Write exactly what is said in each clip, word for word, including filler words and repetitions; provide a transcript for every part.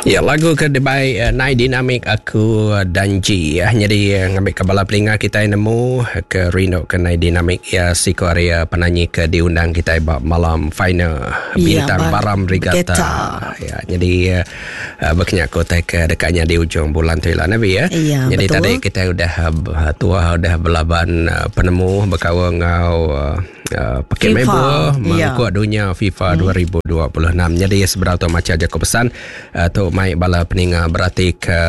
Ya, lagu ke dibai uh, Nai Dinamik Aku Danji ya. Jadi uh, ngambil ke bala pelinga kita nemu ke rindu ke Nai Dinamik ya, siko area penyanyi ke diundang kita ba malam final bintang Ya, Baram Regatta. Regatta. Ya, jadi uh, berkenyak kota ke dekatnya di ujung bulan tu lah Nabi ya. Ya, jadi betul. Tadi kita udah uh, tua udah belaban uh, penemu berkawan ngau uh, uh, pakai FIFA. member Ya. mangkuk dunia FIFA hmm. dua ribu dua puluh enam. Jadi seberapa tu macam jago pesan uh, tu mai bala peninga berarti ke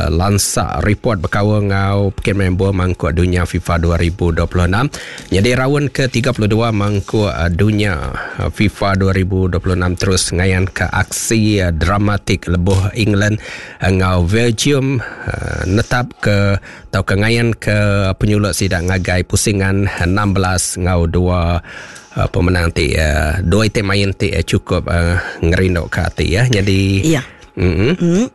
lansak report berkawan ngau pakai member mangkuk dunia FIFA dua ribu dua puluh enam. Jadi round ke tiga puluh dua mangkuk uh, dunia uh, FIFA dua ribu dua puluh enam terus ngayan ke aksi uh, dramatik lebuh England uh, ngau Belgium uh, netap ke atau ke ngayan ke penyulut sidak ngagai pusingan enam belas ngau dua uh, pemenang ti uh, dua item main ti uh, cukup uh, ngerinduk ke hati ya. Jadi Ya. Mm-hmm. Hmm.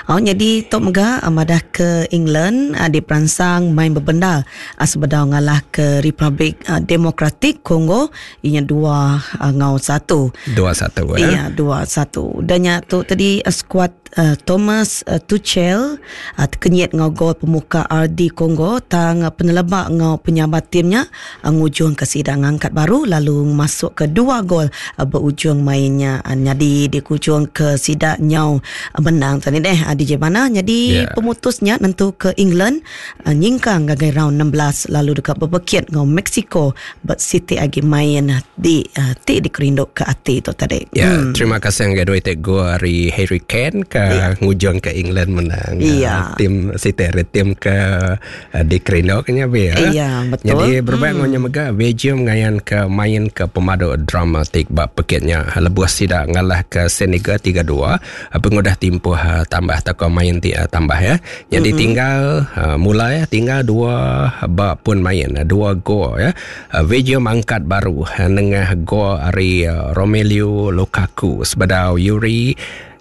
Oh, jadi Tok Mega madah ke England uh, di peransang main berbenda uh, sebedau ngalah ke Republik uh, Demokratik Kongo inya dua uh, ngau satu. Dua satu ya. Iya, dua satu. Dan nya tu tadi uh, skuad uh, Thomas uh, Tuchel uh, kenyit ngau gol pemuka R D Kongo tang uh, penelebak ngau penyambat timnya uh, ngujung ke sidang angkat baru lalu masuk ke dua gol uh, berujung mainnya uh, jadi di kujung ke sidak nyau menang tadi deh D J mana jadi Yeah. pemutusnya nentu ke England uh, nyingkang gagai round enam belas lalu dekat berbekit ngau Mexico but City agi main di uh, ti dikerinduk ke hati tu tadi. Ya, hmm. Terima kasih yang kedua itu gol dari Harry Kane ke yeah. ngujung ke England menang. Yeah. Uh, tim City tim ke uh, dikerinduknya be ya. Iya, betul. Jadi berbang hmm. mega Belgium ngayan ke main ke pemadu dramatik bab pekitnya lebuh sidak ngalah ke Senegal tiga dua pengudah timpuh uh, tambah atau main ti, uh, tambah ya. Jadi mm-hmm. tinggal uh, mula ya tinggal dua bab pun main uh, dua gol ya. Uh, Belgium angkat baru uh, nengah gol ari uh, Romelu Lukaku sebedau Yuri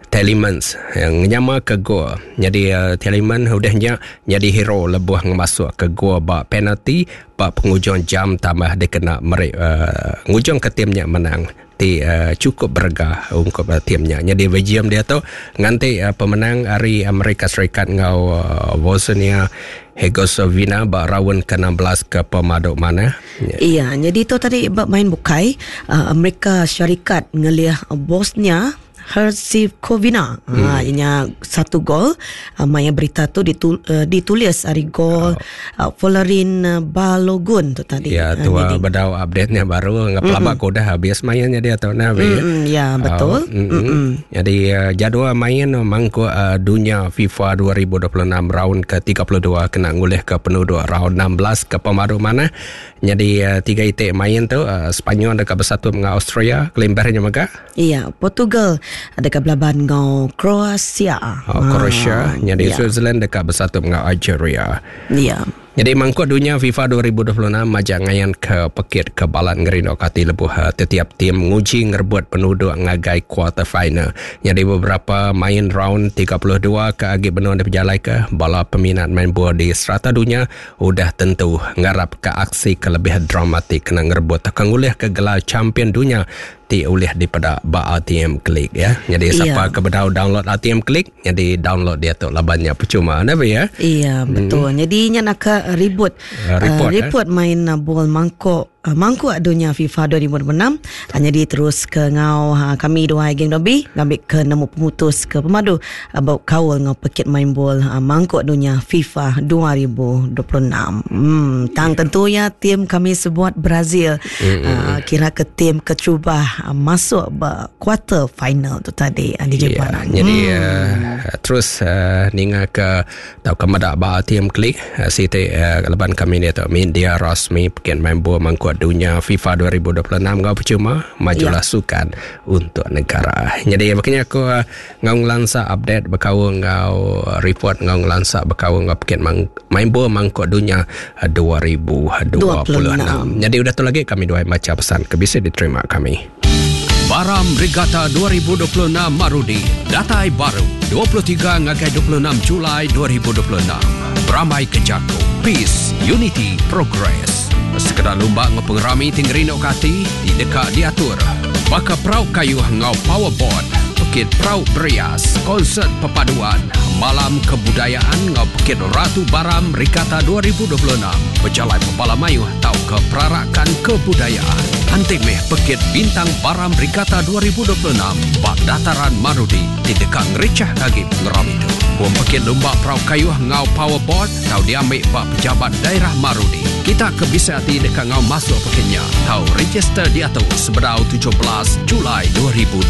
Tielemans yang nyama ke gol. Jadi uh, Tielemans udahnya jadi hero lebuh ngemasuk ke gol bab penalti bab penghujung jam tambah dia kena merik uh, ngujung ke timnya menang. Ti uh, cukup berega untuk uh, timnya. Jadi Belgium dia tu nganti uh, pemenang hari Amerika Serikat ngau uh, Bosnia Herzegovina bak round ke enam belas ke pemaduk mana. Ya. Iya, jadi tu tadi bab main bukai uh, Amerika Syarikat ngeliah Bosnia Herzegovina. Hmm. Ha, ianya satu gol. Uh, maya berita tu ditul, uh, ditulis hari gol oh. uh, Folarin Balogun tu tadi. Ya, tu uh, bedau update-nya baru ngap lama mm-hmm. dah habis mainnya dia tu nah. Mm-hmm. Ya, betul. Uh, mm-hmm. Jadi uh, jadual main mangkuk uh, dunia FIFA dua ribu dua puluh enam round ke tiga puluh dua kena ngulih ke penduduk round enam belas ke pemaru mana. Jadi uh, tiga itik main tu uh, Sepanyol dekat bersatu dengan Austria, kelimbarnya mega. Iya, Portugal dekat belaban ngau Kroasia. Oh, Kroasia. Ha, Jadi ya. Switzerland dekat bersatu dengan Algeria. Ya. Jadi mangkuk dunia FIFA dua ribu dua puluh enam majak ngayan ke pekit ke balan ngerinduk kati lebuh setiap tim nguji ngerebut penduduk ngagai quarter final. Jadi beberapa main round tiga puluh dua ke agi benua di berjalai ke bala peminat main bola di serata dunia udah tentu ngarap ke aksi ke lebih dramatik kena ngerebut ke ngulih ke gelar champion dunia ti ulih daripada ba A T M Klik ya. Jadi siapa Iya. ke bedau download A T M Klik, jadi download dia tu labannya percuma nabi ya. Iya, betul. Hmm. Jadi nya nak ke ribut Uh, report, uh, report eh? main uh, bol mangkuk uh, mangkuk dunia FIFA dua ribu dua puluh enam. Hanya di terus ke ngau uh, kami dua geng dobi ngambil ke nemu pemutus ke pemadu uh, bau kaul ngau pekit main bol uh, mangkuk dunia FIFA dua ribu dua puluh enam. Hmm, tang yeah. tentunya tim kami sebuat Brazil mm-hmm. uh, kira ke tim kecubah uh, masuk ber quarter final tu tadi uh, di Jepun. Yeah, jadi hmm. uh, terus uh, ninga ke tau ke medak ba A T M Klik uh, siti uh, leban kami ni tu media rasmi pekit main bol mangkuk dunia FIFA dua ribu dua puluh enam ngau percuma majulah Ya. sukan untuk negara. Jadi makanya aku uh, ngau ngelansa update berkau ngau report ngau ngelansa berkau ngau pekit mang, main bol mangkuk dunia dua ribu dua puluh enam. Jadi udah tu lagi kami dua baca pesan ke bisa diterima kami. Baram Regatta dua ribu dua puluh enam Marudi datai baru dua puluh tiga ngagai dua puluh enam Julai dua ribu dua puluh enam. Beramai ke Jako. Peace, Unity, Progress. Sekedar lumba ngau pengerami tinggi rindu kati di dekat diatur. Baka perau kayu ngau powerboard. Pekit Perau Berias, Konsert Perpaduan, Malam Kebudayaan ngau Pekit Ratu Baram Regatta dua ribu dua puluh enam. Berjalai Pepala Mayuh tau ke Perarakan Kebudayaan. Antik meh Pekit Bintang Baram Regatta dua ribu dua puluh enam bak Dataran Marudi di dekat ngericah kagi pengeram itu. Buang Pekit Lumba Perau Kayuh ngau Powerboard tau diambil bak Pejabat Daerah Marudi. Kita ke bisa hati dekat ngau masuk pekitnya. Tau register di atas sebedau tujuh belas Julai dua ribu dua puluh